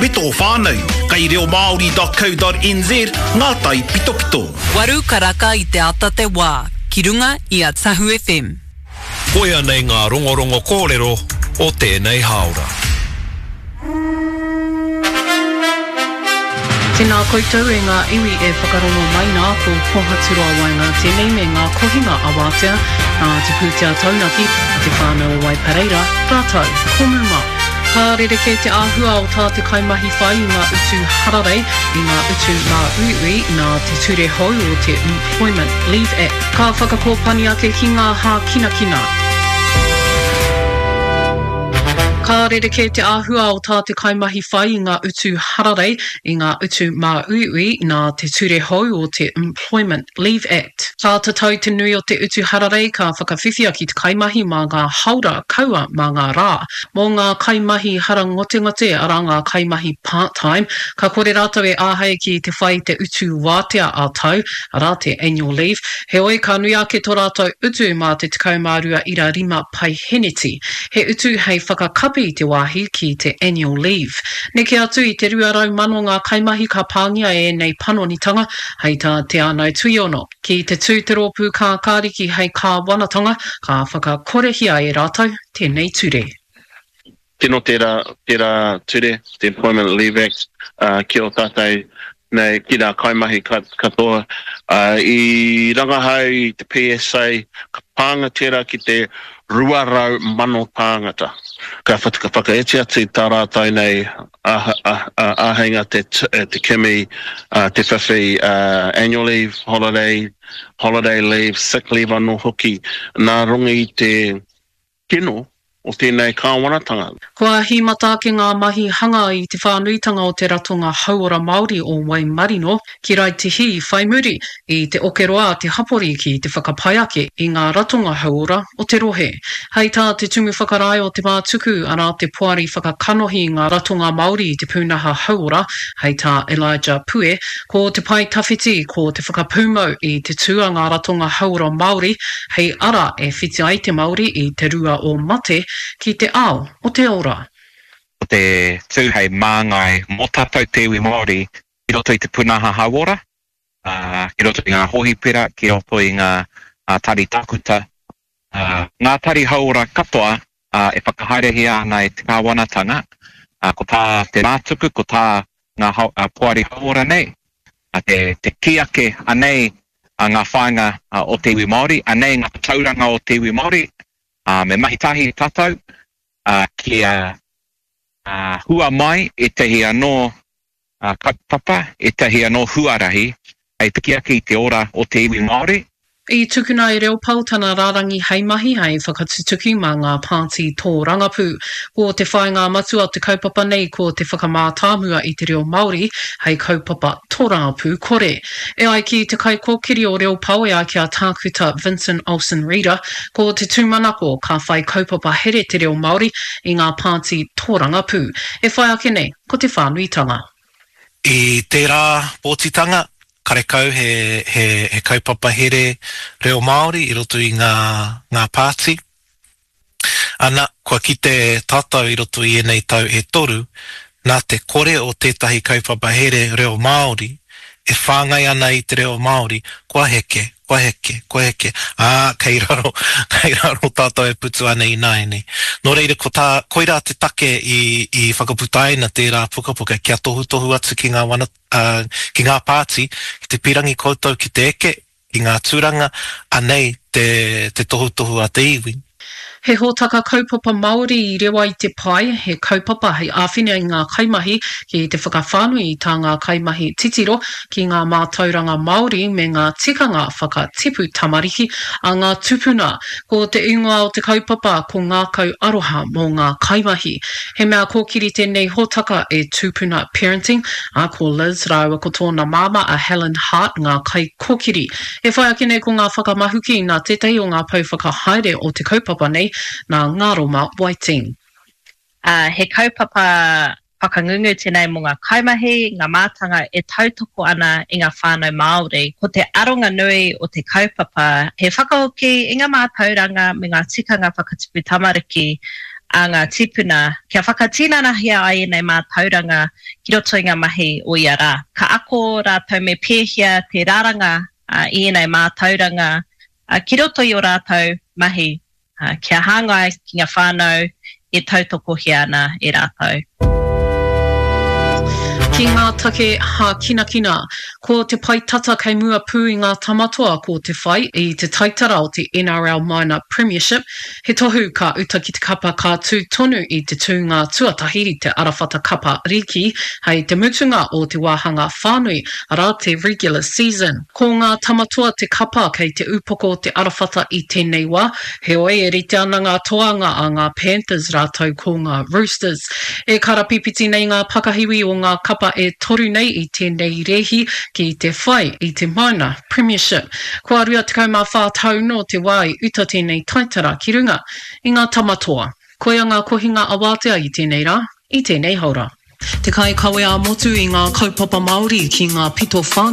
me tō whānau. Kei reomāori.co.nz ngā taipitopito. Waru karaka i te ata te wā, ki runga i a Tahu FM. Koia nei ngā rongorongo kōrero o tēnei hāora. Tēnā koutou e ngā iwi e whakarongo mai nā, ko Pohaturoa Waenga tēnei me ngā kohinga awatea nā te pūtea taunaki a te whānau o Waipareira rātou ko Muma. Ka rerekē te āhua o tā te kaimahi whai i ngā utu hararei, i ngā utu māuiui nā te ture hou o te Employment Leave Act. Ka whakakōpani ake ki ngā hākinakina. Ka rerekē te āhua o tā te kaimahi whai i ngā utu hararei, i ngā utu māuiui nā te ture hou o te Employment Leave Act. Ka tatau te nui o te utu hararei ka whakawhiwhia ki te kaimahi mā ngā haora kaua mā ngā rā. Mō ngā kaimahi harangotengote, arā ngā kaimahi part-time, ka kore rātou e āhei ki te whai i te utu wātea ā-tau, arā te annual leave, heoi ka nui ake tō rātou utu mā te 12 ira rima paiheneti. He utu hei whakakapi i te wāhi ki te annual leave. Neke atu i te 200,000 ngā kaimahi ka pāngia e ēnei panonitanga, hei tā Te Ānau Tuiono. Ki te tū te rōpū kākāriki hei kāwanatanga, ka whakakorehia e rātou tēnei ture. Tino tērā, tērā ture, te Employment Leave Act, ki ō tātou nei, ki ngā kaimahi katoa. I rangahau i te PSA, ka pānga tērā ki te 200,000 tāngata. Ka whakaiti atu tā rātou nei āheinga te kimi, te whiwhi annual leave, holiday, holiday leave, sick leave anō hoki, nā runga i te kino o tēnei kāwanatanga. Kua hīmata ake ngā mahi hanga i te whānuitanga o te ratonga hauora Māori o Waimarino ki Raetihi whai muri i te okeroa a te hapori ki te whakapai ake i ngā ratonga hauora o te rohe. Hei tā te Tumu Whakarae o Te Mātuku, arā te poari whakakanohi i ngā ratonga Māori i te pūnaha hauora, hei tā Elijah Pue, ko te pae tawhiti ko te whakapūmau i te tū a ngā ratonga hauora Māori hei ara e whiti ai te Māori i te rua o mate ki te ao o te ora. Ko te tū hei māngai mō tātou te iwi Māori ki roto i te pūnaha hauora, ki roto i ngā hōhipera, ki roto i ngā tari tākuta, ngā tari hauora katoa e whakahaerehia ana e te kāwanatanga, ko tā te Rātuku, ko tā ngā poari hauora nei, te kī ake anei ngā whāinga o te iwi Māori, anei ngā tauranga o te iwi Māori, me mahi tahi tātou kia hua mai ētahi anō kaupapa, ētahi anō huarahi hei piki ake i te ora o te iwi Māori. I tukuna e Reopao tana rārangi hei mahi hei whakatutuki mā ngā pāti tōrangapū. Ko te whāinga matua o te kaupapa nei ko te whakamātāmua i te reo Māori hei kaupapa tōrangapū kore. E ai ki te kaikōkiri o Reopao e ai ki a Tākuta Vincent Olsen-Reeder, ko te tūmanako ka whai kaupapa here te reo Māori i ngā pāti tōrangapū. E whai ake nei ko te whānuitanga. I tērā pōtitanga, karekau he, he, he kaupapa here reo Māori i roto i ngā, ngā pāti. Ana, kua kite tātou i roto i ēnei tau e toru, nā te kore o tētahi kaupapa here reo Māori e whāngai ana i te reo Māori, kua heke, kua heke, kua heke, ā, kei raro, kei raro tātou e putu ana ināianei. Nō reira, ko tā, koirā te take i, i whakaputaina tērā pukapuka kia tohutohu atu ki ngā wana, ā, ki ngā pāti, ki te pīrangi koutou ki te eke, ki ngā tūranga, anei te, te tohutohu a te iwi. He hōtaka kaupapa Māori i rewa i te pae, he kaupapa hei āwhina i ngā kaimahi ki te whakawhānui i tā ngā kaimahi titiro ki ngā mātauranga Māori me ngā tikanga whakatipu tamariki a ngā tupuna. Ko te ingoa o te kaupapa ko Ngākau Aroha mō ngā Kaimahi. He mea kōkiri tēnei hōtaka e Tūpuna Parenting, ā, ko Liz rāua ko tōna māmā a Helen Hart ngā kaikōkiri. E whai ake nei ko ngā whakamahuki nā tētahi o ngā pou whakahaere o te kaupapa nei, nā Ngaroma Whiting. Ā, he kaupapa whakangungu tēnei mō ngā kaimahi, ngā mātanga e tautoko ana i ngā whānau Māori. Ko te aronga nui o te kaupapa he whakahoki i ngā mātauranga me ngā tikanga whakatipu tamariki. a ngā tīpuna kia whakatinanahia ai ēnei mātauranga ki roto i ngā mahi o ia rā. Ka ako rātou me pēhea te raranga i ēnei mātauranga ki roto i ō rātou mahi kia hāngai ki ngā whānau e tautokohia ana e rātou. Ki ngā take hākinakina, ko te pae tata kei mua pū i ngā Tamatoa ko te whai i te taitara o te NRL Minor Premiership, he tohu ka uta ki te kapa ka tū tonu i te tūnga tuatahi i te arawhata kapa rīki hei te mutunga o te wāhanga whānui, arā te regular season. Ko ngā Tamatoa te kapa kei te upoko o te arawhata i tēnei wā, heoi e rite ana ngā toanga a ngā Panthers rātou ko ngā Roosters. E karapipiti nei ngā pakahiwi o ngā kapa e toru nei i tēnei rēhi ki te whai i te Minor Premiership. Kua 24 tau nō te wā i uta tēnei taitara ki runga i ngā Tamatoa. Koia ngā kohinga awātea i tēnei rā, i tēnei haora. Te kaikawe ā-motu i ngā kaupapa Māori ki ngā pito whānui.